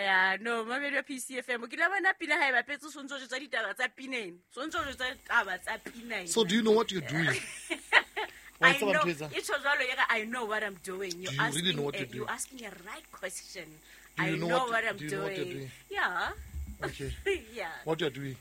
Ya no mamedi wa PCFM ke la bona pina ha e bapetse o sontse o jwetsa ditaba tsa pineng sontse o jwetsa ditaba tsa pineng. So do you know what you're doing? Wa I tseba know ntho e etsang? e tjho jwalo e re I know what I'm doing. Do you really know what you're doing? You're asking a right question. Do I you know know what- what I'm do you know what you're doing. doing? Yeah. Okay. Yeah. What you're doing?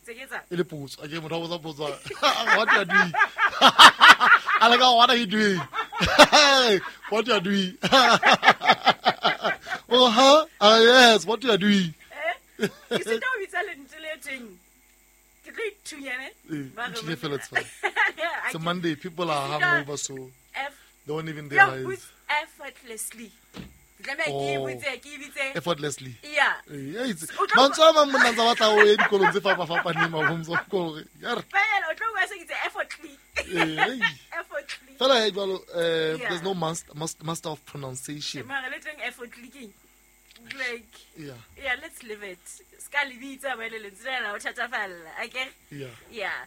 Tse ke etsang? E le potso. Akere motho a botsa potso. What you are doing? A le ka, what are you doing? What you are doing? Oh, huh? Ah, yes, what you are doing? Eh? Ke sita ho bitsa lentswe le teng. Ke tlo ithunya ne? Eh, Ba re ithunya fela, it's fine. I It's a ke- Monday, people are Ke sita hungover, so they don't even Yo, realize. botse effortlessly. Ke tlameha ke e Oh. botse, ke e bitse. Effortlessly. Yeah. Eh, yeah, it's- O tlo- mantswe a mang monna ntse a batla o ye dikolong tse fapafapaneng mabomso kore ya re, Fela, o tlo bua se ke itse effortly. Eh, hey. Effortly. Fela he jwalo, Yeah. there's no master of pronunciation. Mara le teng effortly keng? Like, Yeah, yeah, let's leave it. Ska le bitsa ba le lentswe lena o thatafalla. Akere? yeah. Yeah.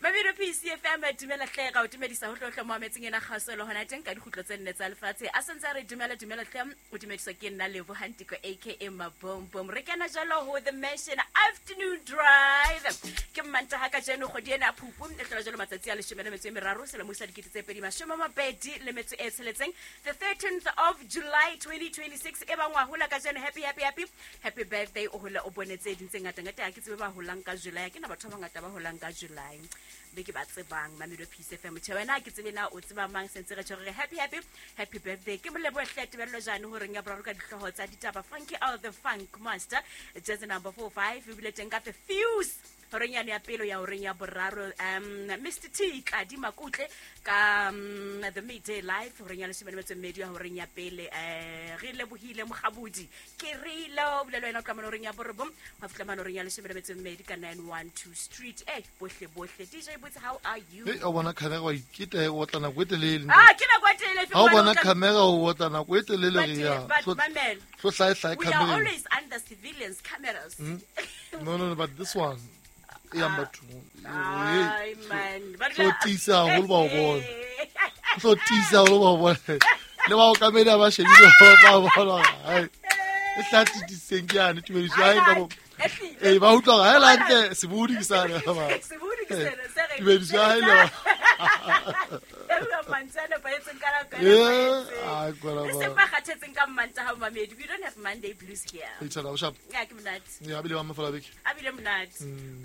Mamedo PCFM dumela hle ka o dumedisa ho hlohle mo ametseng ena kgaso le hona teng ka dikgutlo tse nne tsa lefatshe. A sentse a re dumela dumela hle o dumediswa ke nna Lebo Hantiko aka Mabombom. Re kena jalo ho The Mansion Afternoon Drive. Ke Mmantaha kajeno kgwedi ena ya Phupu e hlola jalo matsatsi a 13 selemo sa 2026, the 13th of July 2026 e bang wa hola kajeno. Happy happy happy happy birthday o hola o bone tse ding tse ngata ngata. Ha ke tsebe ba holang ka July, ha ke na batho ba bangata ba holang ka July be ke ba tsebang. Mamedo Peace FM tjhe wena ha ke tsebe na o tseba mang sentse re tjho re happy happy happy birthday. Ke molebohe hle Tebello Jane horeng ya boraro ka dihlooho tsa ditaba. Funky out the funk master jazz number 45 ebile teng ka the fuse horeng yane ya pelo ya horeng ya boraro. Mr T Tladi Makutle ka the midday live horeng ya 12 ya horeng ya pele. Re lebohile Mokgabudi ke rile o bile le wena o tla mane horeng ya borobong wa fihla mane horeng ya 12 ka 912 Street. Bohle bohle DJ Botse, how are you? Hey, o bona camera wa iketa o otla nako e telele. Ah, ke nako e telele Ha o bona camera o otla nako e telele re ya. But mamela. Tlo hlae hlae We are camera. always under civilians cameras. No, no, no, but this one e yang bathong. Ai man. Ba Tlo tiisa haholo ba o bona. Tlo tiisa haholo ba o bona. Le ba okamedi ha ba shebile ba bona. Hai. E tla titiseng ke yane tumediso ya hae ka bo. Eh, ba utlwa hore ha e le hantle sebodi ke sane ba. Sebodi ke sena se re. Tumediso ya hae le ba. Re mantswe a nepahetseng ka nako e Eh, nepahetseng. ai, kwala E ba. seng ba kgathetseng ka Mmantaha mamedi. We don't have Monday blues here. E tshwana o sharp. Ya ke monate. Ya bile ba mafela beke. A bile monate.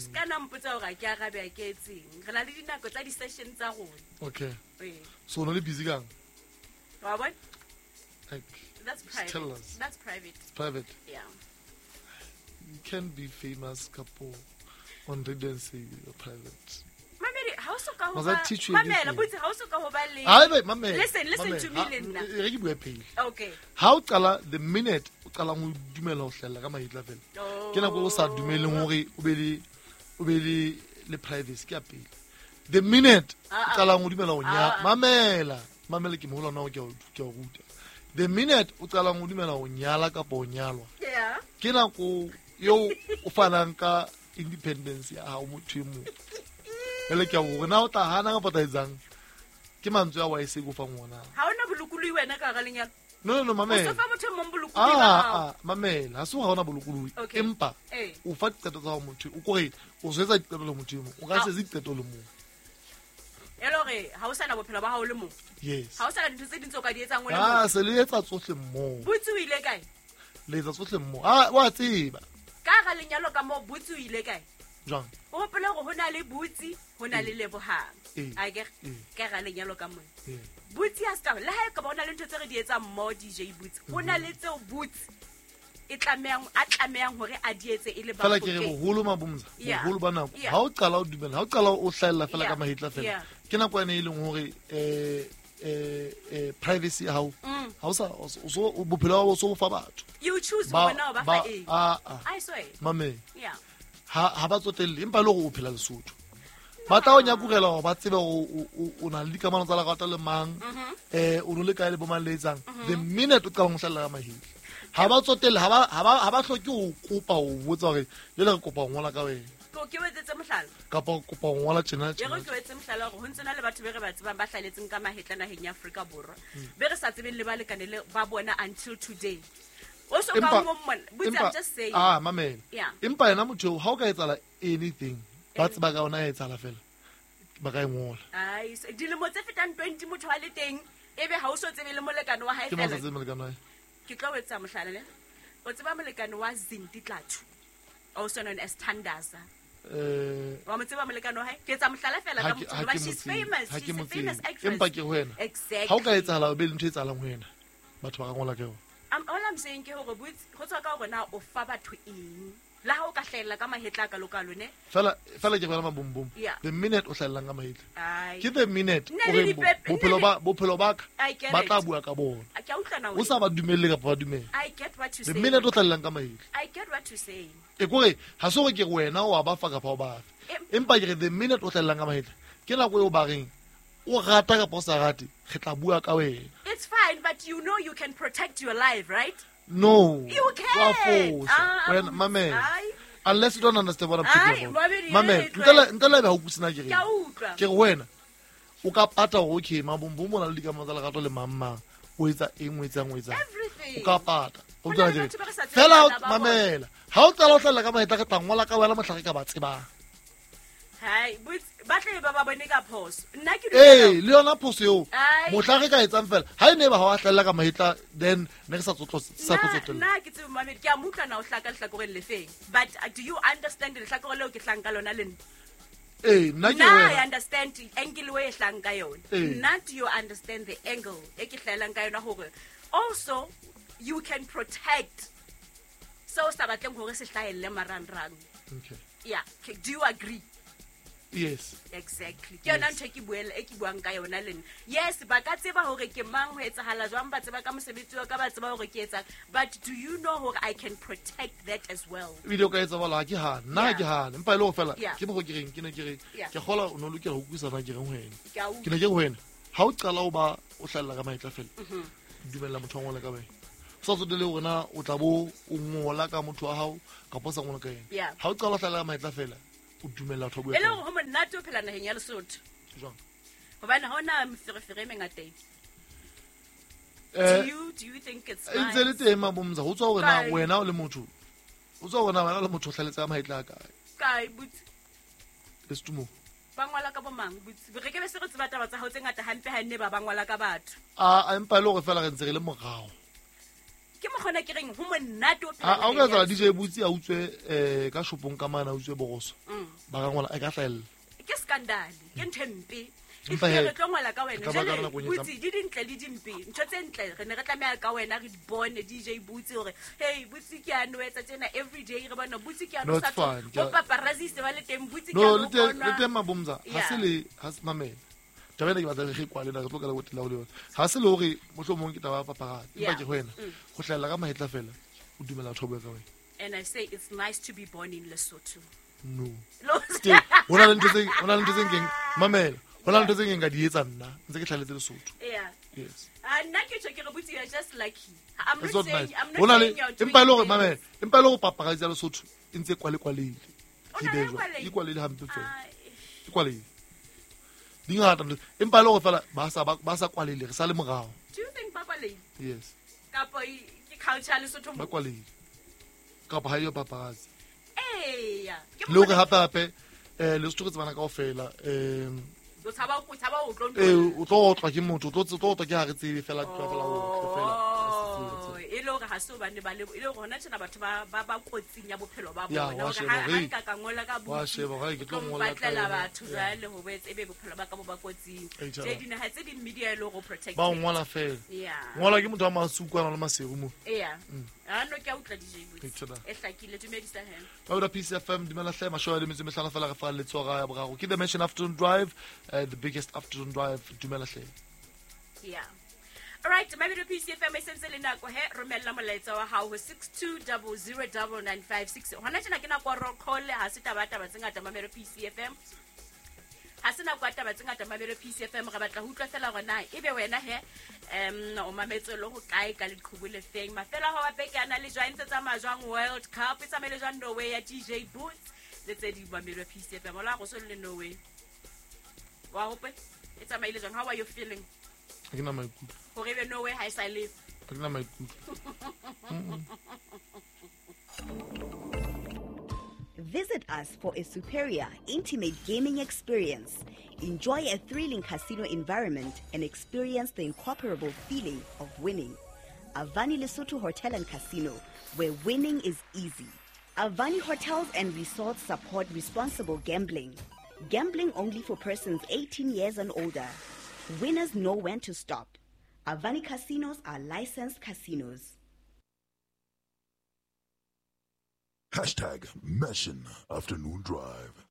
Se ka na mpotsa hore ha ke arabe ha ke etseng. Re na le dinako tsa di-session tsa rona. Okay. Ee. So no le busy kang? Wa bona? Like That's Just private. tell us. That's private. It's private. Yeah. You can be famous couple on radio and say you're private. Mamedi, ha o soka ho Must ba I teach you Mamela, anything? botse ha o soka ho ba le Hayi be mamela. Listen, listen mamela. to me le nna. E re ke bue pele. Okay. Ha o qala the minute o qalang o dumela ho hlahella ka mahetla fela. Oh. Ke nako o sa dumeleng hore o be le o be le le privacy ke ya pele. The minute o Ah, ah. qalang o dumela ho nya Ah, ah. mamela, mamela ke moholo wa ke a o ruta. The minute o qalang o dumela ho nyala kapa ho nyalwa. Yeah. Ke nako eo o fanang ka independence ya hao motho e mong. Jwale ke a hore na o tla hana kapa o tla etsang? Ke mantswe a wa e se ko fang ona. Ha ona bolokolohi wena ka hara lenyalo. No, no, no, O mamela. so fa motho e mong bolokolohi ba Ah, hao. ah, mamela. Ha se hore ha ona bolokolohi. Okay. Empa Eh. o fa diqeto tsa hao motho. O kore o so etsa diqeto le motho e mong. O ka Ah. se etse diqeto le mong. E le hore ha o sana bophelo ba hao le mong. Yes. Ha o sana dintho tse ding tseo o ka di etsang o le Ah, mong. se le etsa tsohle mmoho. Botse o ile kae? Le etsa tsohle mmoho. Ah, wa tseba. Ka hara lenyalo ka moo botse o ile kae? Jwang? O hopole hore ho na le Botse, ho na le Lebohang. Eh. Akere? Eh. Ka hara lenyalo ka mona. Eh. Botse ha se ka le ha e ka ba ho na le ntho tse re di etsang mmoho DJ Botse. Ho na le tseo Botse e tlamehang a tlamehang hore a di etse e le Fela ke re Bafokeng. boholo Mabomza, Yeah. boholo ba nako. Yeah. Ha o qala o dumela, ha o qala o hlahella fela Yeah. ka mahetla fela. Yeah. Ke nako ene e leng hore privacy ya hao. Ha o sa o so bophelo ba hao o so bo fa batho. You choose Ba hore na o ba fa eng. ah ah. I swear. Mamela. Yeah. Ha ba tsotelle empa e le hore o phela Lesotho. Ba tla o nyakurela hore ba tsebe hore o na le dikamano tsa lerato le mang, o no le kae le bo mang le etsang. The minute o qalang ho hlahella ka mahetla. Ha ba tsotelle, ha ba hloke ho kopa ho botsa hore jwale re kopa ho ngola ka wena. Ke o etsetse mohlala. Kapa o kopa ho ngola tjena E re tjena. ke o etse mohlala hore ho ntse na le batho be re ba tsebang ba hlaletseng ka mahetla naheng ya Afrika Borwa. Be re sa tsebeng le balekane le ba bona until today. O so ka mo mmona. Butse, I'm just saying. Ah, mamela. Yeah. Empa yena motho eo, ha o ka etsahala anything, ba tseba ka ona e etsahala fela, ba ka e ngola. Ai, dilemo tse fetang 20 motho a le teng, ebe ha o so tsebe le molekane wa hae Ke mang fela. sa tsebe molekane wa hae? Ke tlo o etsa mohlala ne. O tseba molekane wa Zinti Tlathu, also known as Thandaza. Wa mo tseba molekane wa hae? Ke etsa mohlala fela ka motho, Ha hoba ke she's mo tsebe, famous. ha ke She's mo a famous tsebe. actress. Empa ke ho wena. Exactly. Ha o ka etsahala o be le ntho e etsahalang ho wena, batho ba ka ngola ka yona. All I'm saying ke hore botse, ho tswa ka hore na o fa batho eng. Le ha o ka hlahella ka mahetla a kalo-kalo, ne? Fela, fela ke bona mabombom. Yeah. The minute o hlahellang ka mahetla. Ai. Ke the minute Nna o le reng nna le bophelo ba ka I get ba it. tla bua ka bona. Ke a utlwa na O wena. sa ba dumelle kapa ba dumele. I get what you The say. minute o hlahellang ka mahetla. I get what you saying. E kore ha se hore ke re wena o a ba fa kapa o ba fe. Empa ke re the minute o hlahellang ka mahetla, ke nako eo ba reng o rata kapa o sa rate, re tla bua ka wena. It's fine, but you know you can protect your life, right? No. You can. Wa fosa. Ah, Wena, mamela. ai. Unless you don't understand what I'm talking Ai, about. mamedi, Mamela. e Ntle le ebe ha o utlwisisa na ke reng. Ke a utlwa. Ke re wena, o ka pata hore okay, mabombom o na le dikamano tsa lerato le mang mang. O etsa eng, o etsang, o etsang. Everything. O ka pata. O Ho na utlwa le ke reng? batho ba re sa tsebeng Fela ha o bana ba bona. mamela. Ha o qala o hlahella ka mahetla, re tla ngola ka wena mohla re ka ba tsebang. Hai, ba tle ba ba bone ka phoso. Nna ke Ee, dumela. le yona phoso eo. Ai. Mohla re ka etsang fela, ha e ne ba ha wa hlahella ka mahetla, then ne re sa sa tlo tsotella. Nna ke tsebe mamedi, ke a mo utlwa na o hlaka lehlakoreng le feng. But do you understand lehlakore leo ke hlang ka lona le nna? Ee, nna ke Nna I wena. understand angle e hlang ka yona. Ee. Nna do you understand the angle e ke hlahelang ka yona hore also you can protect seo sa batleng hore se hlahelle marangrang. Okay. Yeah, do you agree? Yes. Exactly. Ke yona Yes. ntho e ke e ke buang ka yona le nna. Yes, ba ka tseba hore ke mang, ho etsahala jwang, ba tseba ka mosebetsi wa ka, ba tseba hore ke etsang. But do you know hore I can protect that as well? Ebile o ka etsa jwalo, ha ke hane. Nna ha ke Yeah. hane. Empa e le hore fela, Yeah. ke mokgwa ke reng, ke ne ke re, Yeah. ke kgolwa o no lokela ho utlwisisa na ke reng ho wena. Ke a utlwa. Ke ne ke re ho wena, ha o qala o ba o hlahella ka mahetla fela, dumella motho a ngole ka wena. O sa tsotelle hore na o tla bo o ngola ka motho wa hao kapa o sa ngola ka yena. Yeah. Ha o qala o hlahella ka mahetla fela, o dumella batho ba bue E le ka hore ho monate ho phela naheng ya Lesotho. Jwang? Hobane ha hona meferefere e mengata e. Do you think it's E ntse le nice? teng mabomza, ho tswa hore na Kae? wena o le motho, ho tswa hore na wena o le motho o hlahelletse ka mahetla a kae. Kae, butse? Lesotho moo. Ba ngola ka bo mang, butse? Re ke be se re tseba taba tsa hao tse ngata hampe ha nne ba ba ngola ka batho. A empa e le hore fela re ntse re le morao. Ke mokgona ke reng ho monate ho phela Ha o ka naheng ya etsahala Lesotho. DJ Butsi a utswe ka shopong ka mane, a utswe boroso. Ba ka ngola, e ka hlahella. Ke scandal, ke ntho e mpe. Empa Ehlile he, re tlo ngola ka wena. re tla ba ka Jwale, nakong e Butsi, di dintle le dimpe. Ntho tse ntle re ne re tlameha ka wena re di bone DJ Butsi hore, hey, Butsi ke a no etsa tjena every day, re bona Butsi ke a no No, sa it's fine. tlo- bo paparazzi se ba le teng, Butsi ke No, a no le teng, bonwa. le teng mabomza. Ha se Yeah. le, ha se mamela. Taba ena ke batla re kwale na, re tlo kala go tela ho le yona. Ha se le hore mohlomong ke taba ya paparazzi, empa Yeah. ke ho wena. Ho hlahella ka mahetla fela, o dumela batho ba bue ka wena. And I say it's nice to be born in Lesotho. No. Lo- Teng, ho na le ntho tse, ho na le ntho tse nkeng, mamela. Ho na le ntho tse nkeng ka di etsa nna, ntse ke hlahelletse Lesotho. Yeah. Yes. Ah, nna ke tjho ke re Butsi, you're just lucky. I'm It's not not saying, nice. I'm Ho not na le, saying you're doing empa e le hore things. mamela, empa e le hore paparazzi ya Lesotho e ntse e kwale-kwalehile. O Ke na le be jwang? kwalehile? E kwalehile hampe fela. Ah, E kwalehile. Di ngata ntho. Empa e le hore fela ba sa kwalehile, re sa le morao. Do you think ba kwalehile? Yes. Kapa ke culture ya Lesotho Ba mo? kwalehile. Kapa ha eyo paparazzi. Eya. Ke Le hore mokgwa- hape hape, Lesotho re tsebana kaofela, O tshaba o tshaba ho tlo ee, o tlo otlwa ke motho, o tlo otlwa ke ha re tsebe fela, tlo fela o otle fela. Oh, e le hore ha se hobane ba le, e le hore hona tjena batho ba kotsing ya bophelo ba Ya, bona. wa Hore sheba ha hore, nka ka ngola ka wa Butsi, sheba hore ke tlo tlo ngola ka mpatlela yona. batho Ya. jwale ho bo etse ebe bophelo ba ka bo ba kotsing. Ei, tjha. Tje dinaha tse ding media e le hore o protected. Ba o ngola fela. Yeah. Ngola ke motho wa masuku a nang le maseru mo. Eya. Ah, no, ke a utlwa DJ Butsi. Ke tjena. E hlakile, dumedisa he. Ba utlwa Peace FM, dumela hle, mashome a le metso e mehlano fela re fa letsoho ya boraro. Ke The Mansion Afternoon Drive, the biggest afternoon drive, dumela hle. Yeah. All right, Mamelodi Peace FM e sentse le nako he, romella molaetsa wa hao ho 62009956. Hona tjena ke nako ya roll call, ha se taba ya taba tse ngata Mamelodi Peace FM. Ha se nako ya taba tse ngata Mamelodi Peace FM, re batla ho utlwa fela hore na ebe wena he, o mametse le ho kae ka leqhubu le feng. Mafelo a hao a beke a na le jwang, e ntse tsamaya jwang World Cup, e tsamaile jwang Norway ya DJ Boots le tse ding Mamelodi Peace FM. Ola go so le Norway. Wa hope e tsamaile jwang? How are you feeling? Ha ke na maikutlo. Hore ebe Norway ha e sa le Ha ke na maikutlo. us for a superior, intimate gaming experience. Enjoy a thrilling casino environment and experience the incomparable feeling of winning. Avani Lesotho Hotel and Casino, where winning is easy. Avani Hotels and Resorts support responsible gambling. Gambling only for persons 18 years and older. Winners know when to stop. Avani Casinos are licensed casinos. Hashtag Mission Afternoon Drive.